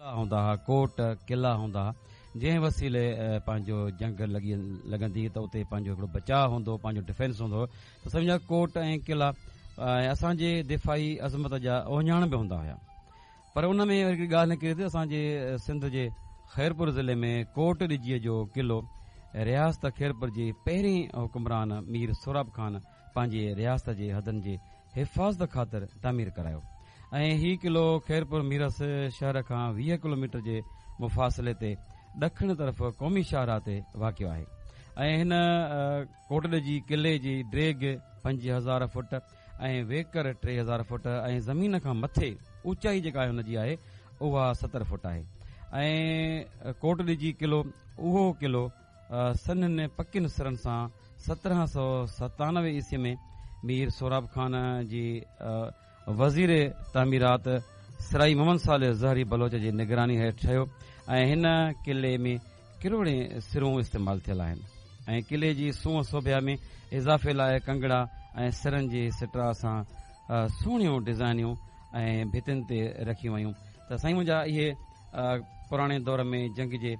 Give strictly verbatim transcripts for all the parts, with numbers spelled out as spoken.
هوندا هئا، ڪوٽ قلعا هوندا هئا، جنهن وسيلي پنهنجو جنگ لڳي لڳندي ته اتي پنهنجو هڪڙو بچاء هوندو، پنهنجو ڊفينس هوندو هو. ته سمجهه ڪوٽ ۽ قلعا اسان جي دفاعي عظمت جا اهڃاڻ به هوندا هئا. پر ان ۾ هڪڙي ڳالهه نڪري ٿي، اسان جي سنڌ جي خيرپور ضلعي ۾ ڪوٽ ڏجيء جو قلعو رياست خيرپور جي پهرين حڪمران مير سهراب خان پنهنجي رياست جي حدن جي حفاظت خاطر تعمير ڪرايو ۽ هي قلعو خيرپور ميرس شهر کان ويهه ڪلوميٽر جي مفاصلي تي ڏکڻ طرف قومي شاهراهه تي واقع آهي. ۽ هن ڪوٽ ڏجي قلعي جي ڊيگهه پنج هزار فوٽ ۽ ويڪر ٽي هزار فوٽ ۽ زمين کان مٿي اوچائي جيڪا هن جي آهي اها ستر فوٽ آهي. ۽ ڪوٽ ڏجي قلعو اهو قلعو سنهن پڪين سرن سان سترهن سؤ ستانوي عيسوي ۾ مير سهراب خان جي وزير تعميرات سرائي محمد صالح زهري بلوچ جي نگراني هيٺ ٺهيو. ۽ هن قلعي ۾ ڪروڙين سرون استعمال ٿيل آهن ۽ قلعي جي سونهن سوڀيا ۾ اضافي لاءِ ڪنگڙا ۽ سرن جي سٽرا سان سهڻيون ڊزائنيون ۽ ڀتين تي رکيون ويون. ته سائين منهنجا، اهي پراڻي دور ۾ جنگ جي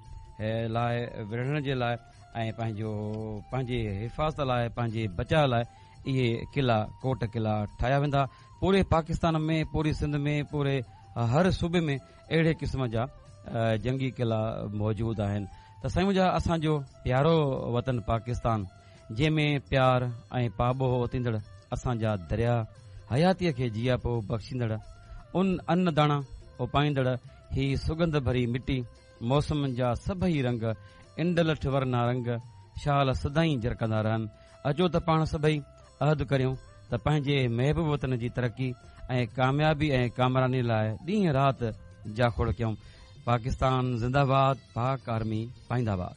لاءِ وڙهڻ جي لاءِ ۽ پنهنجو پنهنجي حفاظت لاءِ، پنهنجي بچاءُ لاءِ اهي قلعا، ڪوٽ قلعا ٺاهيا ويندا. پوري پاڪستان ۾، پوري سنڌ ۾، پوري هر صوبي ۾ اهڙي قسم جا جنگي قلعا موجود آهن. ته سائين منهنجا، اسان جو پيارو وطن پاڪستان، جنهن ۾ پيار ۽ پاٻوهه اوتيندڙ اسان جا دريا، حياتيءَ کي جياپو بخشيندڙ ان ان داڻا اپائيندڙ هي سڳنڌ ڀري مٽي، موسمن جا سڀئي رنگ، انڊلٺ ورنا رنگ شال سدائين جرڪندا رهن. اچو ته پاڻ سڀئي عهد ڪريون ته پنهنجي محبوب وطن جي ترقي ۽ ڪاميابي ۽ ڪامراني لاءِ ڏينهن رات جاکوڙ ڪيون. پاڪستان زنداباد، پاڪ آرمي پائنداباد.